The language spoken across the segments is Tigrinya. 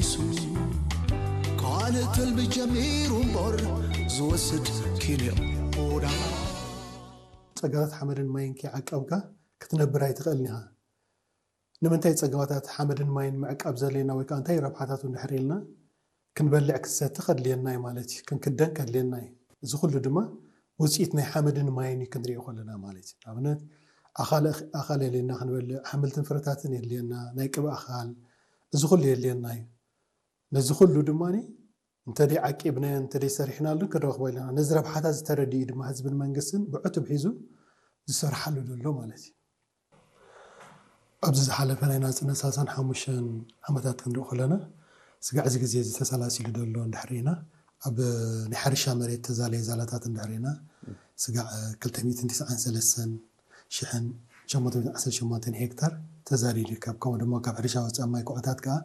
ሱ ካልእ ተልቢ ጀሚሩ እምበር ዝወስድ ኪንዮ ኦዳ ጸጋታት ሓመድን ማይን ከይዓቀብካ ክትነብር ኣይትኽእልን ኢኻ። ንምንታይ ጸጋታት ሓመድን ማይን ምዕቃብ ዘድልየና ወይ ከዓ እንታይ ረብሓታት እንድሕር ኢልና ክንበልዕ ክንሰቲ ከድልየና እዩ ማለት እዩ። ክንክደን ከድልየና እዩ። እዚ ኩሉ ድማ ውፅኢት ናይ ሓመድን ማይን እዩ ክንሪኦ ከለና ማለት እዩ። ንኣብነት ኣኻል ኣኻል የድልየና ክንበልዕ፣ ሓምልትን ፍረታትን የድልየና፣ ናይ ቅብ ኣኻል፣ እዚ ኩሉ የድልየና እዩ። ነዚ ኩሉ ድማ እንተደይ ዓቂብናዮ እንተደይ ሰሪሕናሉ ክንረኽቦ ኣለና። ነዚ ረብሓታት ዝተረድኡ ድማ ህዝብን መንግስትን ብዕቱብ ሒዙ ዝሰርሓሉ ዘሎ ማለት እዩ። ኣብዚ ዝሓለፈ ናይ ናፅነት ሰላሳን ሓሙሽተን ዓመታት ክንርኢ ከለና ስጋዕ እዚ ግዜ እዚ ተሰላሲሉ ዘሎ እንድሕር ኢና ኣብ ናይ ሕርሻ መሬት ተዛለየ ዛላታት እንድሕር ኢና ስጋዕ ክልተ ሚእትን ትስዓን ሰለስተን ሽሕን ሸሞንተ ሚእትን ዓሰርተ ሸሞንተን ሄክታር ተዛልዩ ይርከብ። ከምኡ ድማ ካብ ሕርሻ ወፃኢ ማይ ኩዕታት ከዓ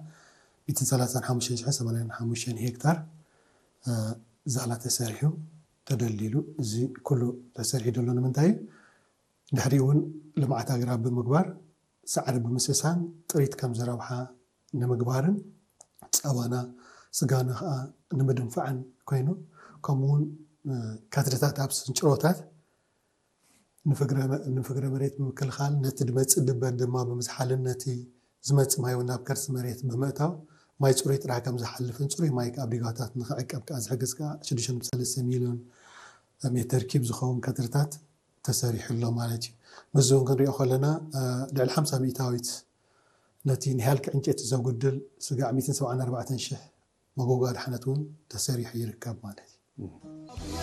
ሚእትን ሰላሳን ሓሙሽተን ሽሕን ሰማንያን ሓሙሽተን ሄክታር ዛላ ተሰሪሑ ተደልዲሉ እዚ ኩሉ ተሰሪሑ ዘሎ ንምንታይ እዩ? ድሕሪ እውን ልምዓት ኣግራብ ብምግባር ሳዕሪ ብምስሳን ጥሪት ከም ዝረብሓ ንምግባርን ፀባና ስጋና ከዓ ንምድንፋዕን ኮይኑ ከምኡውን ከትርታት ኣብ ስንጭሮታት ንፍግረ መሬት ብምክልኻል ነቲ ድመፅእ ድበን ድማ ብምዝሓልን ነቲ ዝመፅእ ማይ እውን ናብ ከርሲ መሬት ብምእታው ማይ ፅሩይ ጥራሕ ከም ዝሓልፍን ፅሩይ ማይ ኣብ ዲጋታት ንክዕቀብ ከዓ ዝሕግዝ ከዓ ሽዱሽተ ነጥቢ ሰለስተ ሚሊዮን ሜተር ኪብ ዝኸውን ከትርታት ተሰሪሑ ኣሎ ማለት እዩ። ምስዚ እውን ክንሪኦ ከለና ልዕሊ ሓምሳ ሚእታዊት ነቲ ንሃልኪ ዕንጨይቲ ዘጉድል ስጋዕ ሚእትን ሰብዓን ኣርባዕተን ሽሕ መጎጎ ኣድሓነት እውን ተሰሪሑ ይርከብ ማለት እዩ።